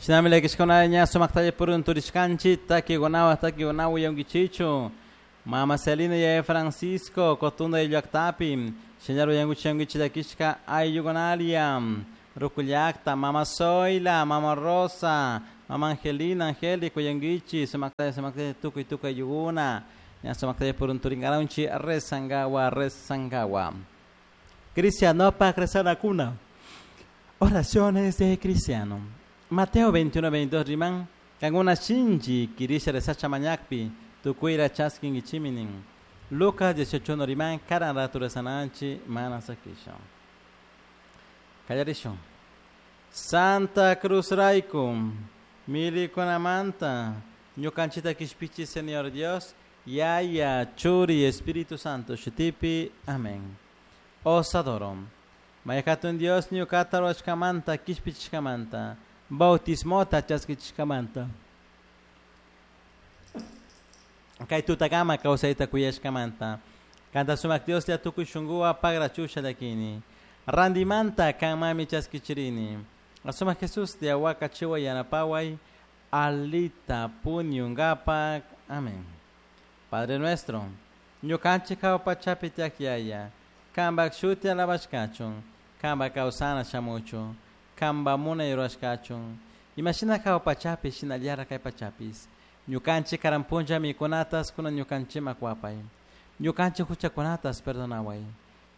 Shinami llakishkuna ña sumaktalla purun turishkanchik takikunawan takikunawan uyankichichu. Mama Celina y Francisco Cotunda llaktapi shinallar uyankuchi llakishka ayllukunalia Ruku llakta, Mama Zoila, Mama Rosa, Mama Angelina, Angélica uyankichik sumaktalla sumaktalla tukuy tukuy ayllukuna ña sumaktalla purun turinkaranchik rezankawa rezankawa. Cristianopak rezanakuna. Oraciones de cristiano. Mateo 21, 22 riman kankuna shinchi kirisha rezacha mañakpi tukuyra chaskinkichimi nin. Lucas 18 riman karan ratu rezananchik mana sakishun. Kallarishun. Santa Cruz rayku milikunamanta ñukanchikta kishpichi Señor Dios Yaya Churi Espíritu Santo shutipi. Amén. Os adoro. Mayhatun Dios ñukata rurashkamanta kishpichishkamanta bautismota chaskichishkamanta kay tutakama kawsayta kuyashkamanta kanta sumak Dioslla tukuy shunkuwan pagrachusha llakini randimanta kanmami chaskichirini sumak Jesús wakachiway yanapaway alita puñunkapak. Amén. Padre nuestro, ñukanchik jahua pachapi tiyak Yaya, kanpak shuti alabashkachun, kanpak kawsana shamuchun, kanpak munay rurashkachun, imashina jahua pachapi shinallara kay pachapis. Ñukanchik karan punlla mikunatas kunan ñukanchikman kuwapay. Ñukanchik huchakunatas perdonaway.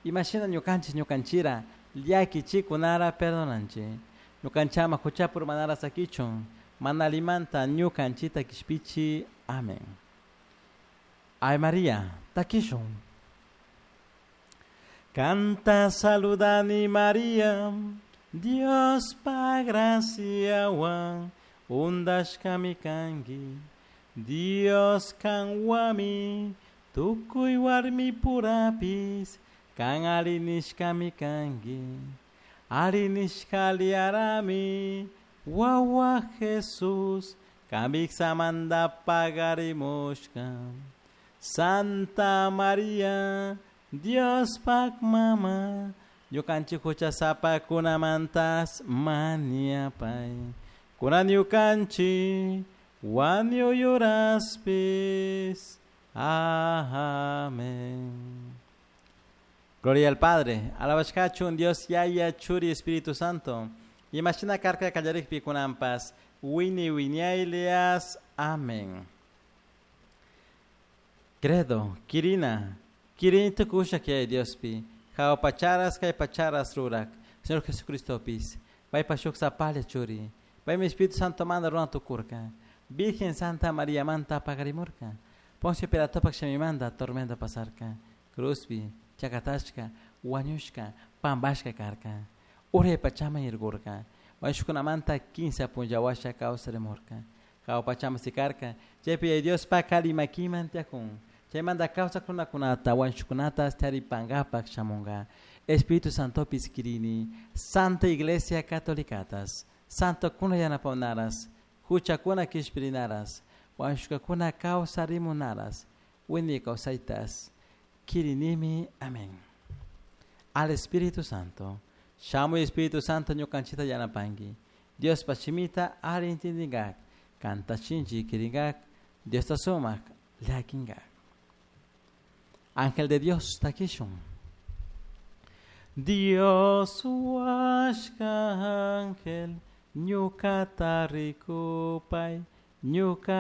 Imashina ñukanchik ñukanchira llakichikunara perdonanchik. Ñukanchama huchapi urmanara sakichun, mana allimanta ñukanchikta kishpichi. Amén. Ave María, takishun. Kanta saludani María, Diospak graciawan undashkami kanki. Dios kanwami, tukuy warmi purapis, kan ari nishkami kanki. Ari nishka aliyarami, wawa Jesús, kan wiksamanta pagarimushka. Santa María, Diospak mama, ñukanchik huchasapakunamantas mañapay. Kunan ñukanchik wañuy uraspis. Amén. Gloria al Padre, alabashkachun Dios Yaya, Churi, Espíritu Santo. Imashina karka kallarikpi kunanpas, wini wiñaylias. Amén. Credo, Kirina, Kirini tukusha Yaya Diospi, jahua pacharas kay pacharas rurak, Señor Jesucristopis, paypa shuk sapalla churi, paymi Espíritu Santo manda runa tukurka, Virgen Santa María manta pagarimurka, Poncio Pilatopak shamimanta tormenta pasarka, Cruzpi, chakatashka, wañushka, pambashka karka, uray pachaman irkurka, wañushkunamanta kinsa punlla washa kawsarimurka, jahua pachaman sikarka, chaypi Yaya Diospak alli makiman tiyakun, chaymanta kawsak runakunata wañushkunata taripankapak shamunka, Espíritu Santopis kirini, Santa Iglesia Catolicatas, Santo kuna yanapawnaras, huchakuna kishpirinaras, wañushkakuna kawsarimunaras, wiñay kawsaytas, kirinimi. Amén. Al Espíritu Santo, shamuy Espíritu Santo ñukanchikta yanapanki, Diospa shimita alli intindinkak, kanta shinchi kirinkak, Diosta sumak llakinkak. Ángel de Dios, takishun. Dios huashka ángel, ñukata rikupay, ñuka